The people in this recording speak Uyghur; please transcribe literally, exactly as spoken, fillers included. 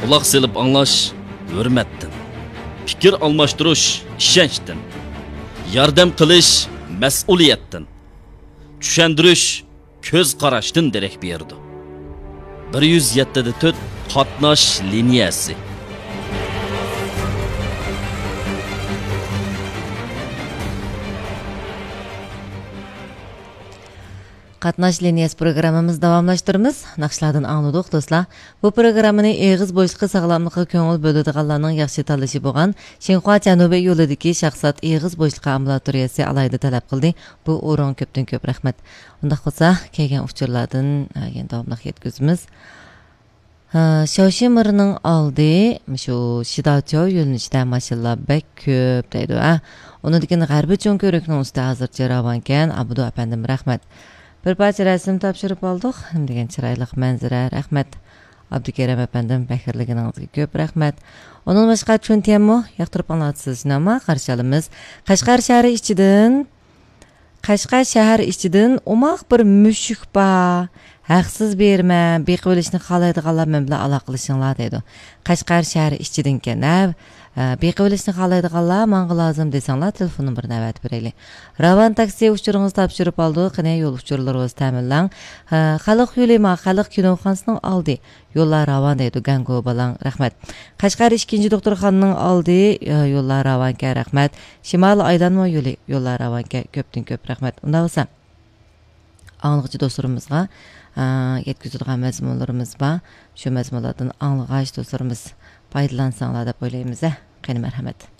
قۇلاق سېلىپ ئاڭلاش ھۆرمەتتىن، پىكىر ئالماشتۇرۇش ئىشەنچتىن، ياردەم قىلىش مەسئۇلىيەتتىن، چۈشەندۈرۈش كۆز قاراشتىن دېرەك بېرىدۇ. بىر يۈز يەتتە دە تۆت قاتناش لىنىيەسى. قاتناش لىنىيەسى پروگراممىمىزنى داۋاملاشتۇرىمىز. ناخشىلاردىن ئاڭلىدۇق، دوستلار. بۇ پروگراممىنى ئېغىز بوشلۇقى ساغلاملىققا كۆڭۈل بۆلىدىغانلارنىڭ ياخشى تاللىشى بولغان شىنخۇا جەنۇبىي يولىدىكى شاخسات ئېغىز بوشلۇقى ئامبۇلاتورىيەسى ئالاھىدە تەلەپ قىلدى. بۇ ئورۇنغا كۆپتىن كۆپ رەھمەت. ئۇنداق بولسا، كەلگەن ئۇچۇرلاردىن، ئە، يەنە داۋاملىق يەتكۈزىمىز. ھە، شاۋشىمىرنىڭ ئالدى، مۇشۇ شىداچياۋ يۆنىلىشىدە ماشىنىلار بەك كۆپ دەيدۇ، ھە. ئۇنىڭدىن كېيىن غەربىي چوڭ كۆۋرۈكنىڭ ئۈستى ھازىرچە راۋانكەن، ئابدۇ ئەپەندىم، رەھمەت. بىر پارچە رەسىم تاپشۇرۇپ ئالدۇق. نېمە دېگەن چىرايلىق مەنزىرە، رەھمەت. ئابدۇكېرىم ئەپەندىم، بەھرىلىگىنىڭىزگە كۆپ رەھمەت. ئۇنىڭدىن باشقا، چۈن تيەنمۇ ياقتۇرۇپ ئاڭلاتسىز، شۇنداقمۇ؟ قارشى ئالىمىز. قەشقەر شەھىرى ئىچىدىن، قەشقەر شەھەر ئىچىدىن ئوماق بىر مۈشۈك بار. ھەقسىز بېرىمەن، بېقىۋېلىشنى خالايدىغانلار مەن بىلەن ئالاقىلىشىڭلار دەيدۇ. قەشقەر شەھىرى ئىچىدىنكەن، ھە. ئە، بېقىۋېلىشنى خالايدىغانلار ماڭا لازىم دېسەڭلار، تېلېفون نومۇرىنى ئەۋەتىپ بېرەيلى. راۋان تاكسى ئۇچۇرىڭىزنى تاپشۇرۇپ ئالدۇق، قېنى يول ئۇچۇرلىرىڭىزنى تەمىنلەڭ. ئە، خەلق يولى ما، خەلق كىنوخانىسىنىڭ ئالدى. يوللار راۋان دەيدۇ، گەڭگو بالاڭ، رەھمەت. قەشقەر ئىككىنچى دوختۇرخانىنىڭ ئالدى، ئە، يوللار راۋانكەن، رەھمەت. شىمالىي ئايلانما يولى، يوللار راۋانكەن، كۆپتىن كۆپ رەھمەت. ئۇنداق بولسا، ئاڭلىغۇچى دوستلىرىمىزغا، ئە، يەتكۈزىدىغان مەزمۇنلىرىمىز بار. شۇ مەزمۇنلاردىن ئاڭلىغاچ دوستلىرىمىز پايدىلانساڭلار دەپ ئويلايمىز، ھە. قېنى، مەرھەمەت.